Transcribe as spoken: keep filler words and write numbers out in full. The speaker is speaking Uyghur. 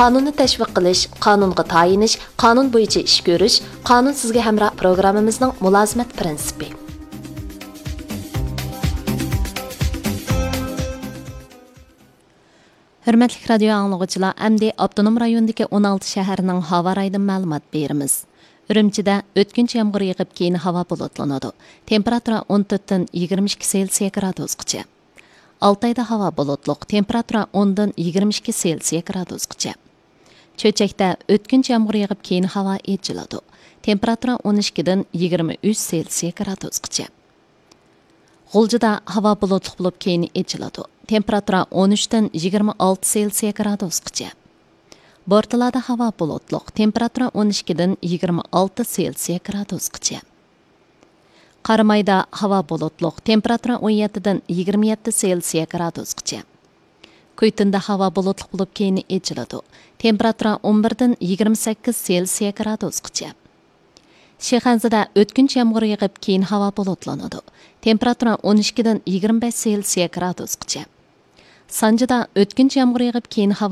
قانۇننى تەشۋىق قىلىش، قانۇنغا تايىنىش، قانۇن بويىچە ئىش كۆرۈش، قانۇن سىزگە ھەمراھ پروگراممىمىزنىڭ مۇلازىمەت پىرىنسىپى. ھۆرمەتلىك رادىيو ئاڭلىغۇچىلار، ئەمدى ئاپتونوم رايوندىكى ئون ئالتە شەھەرنىڭ ھاۋا رايىدىن مەلۇمات بېرىمىز. ئۈرۈمچىدە ئۆتكۈنچى يامغۇر يېغىپ، كېيىن ھاۋا بۇلۇتلىنىدۇ. تېمپېراتۇرا ئون تۆتتىن يىگىرمە ئىككى سېلسىيە گرادۇسقىچە. ئالتايدا ھاۋا بۇلۇتلۇق، تېمپېراتۇرا ئوندىن يىگىرمە ئىككى سېلسىيە گرادۇسقىچە. چۆچەكتە ئۆتكۈنچى يامغۇر يېغىپ، كېيىن ھاۋا ئېچىلىدۇ. تېمپېراتۇرا ئون ئىككىدىن يىگىرمە ئۈچ سېلسىيە گرادۇسقىچە. غۇلجىدا ھاۋا بۇلۇتلۇق بولۇپ، كېيىن ئېچىلىدۇ. تېمپېراتۇرا ئون ئۈچتىن يىگىرمە ئالتە سېلسىيە گرادۇسقىچە. بورتالادا ھاۋا بۇلۇتلۇق، تېمپېراتۇرا ئون ئىككىدىن يىگىرمە ئالتە سېلسىيە گرادۇسقىچە. قارامايدا ھاۋا بۇلۇتلۇق، تېمپېراتۇرا ئون يەتتىدىن يىگىرمە يەتتە سېلسىيە گرادۇسقىچە. كۈيتۇندا ھاۋا بۇلۇتلۇق بولۇپ، كېيىن ئېچىلىدۇ. تېمپېراتۇرا ئون بىردىن يىگىرمە سەككىز سېلسىيە گرادۇسقىچە. شىخەنزىدە ئۆتكۈنچى يامغۇر يېغىپ، كېيىن ھاۋا بۇلۇتلىنىدۇ. تېمپېراتۇرا ئون ئىككىدىن يىگىرمە بەش سېلسىيە گرادۇسقىچە. سانجىدا ئۆتكۈنچى يامغۇر يېغىپ، كېيىن ھاۋا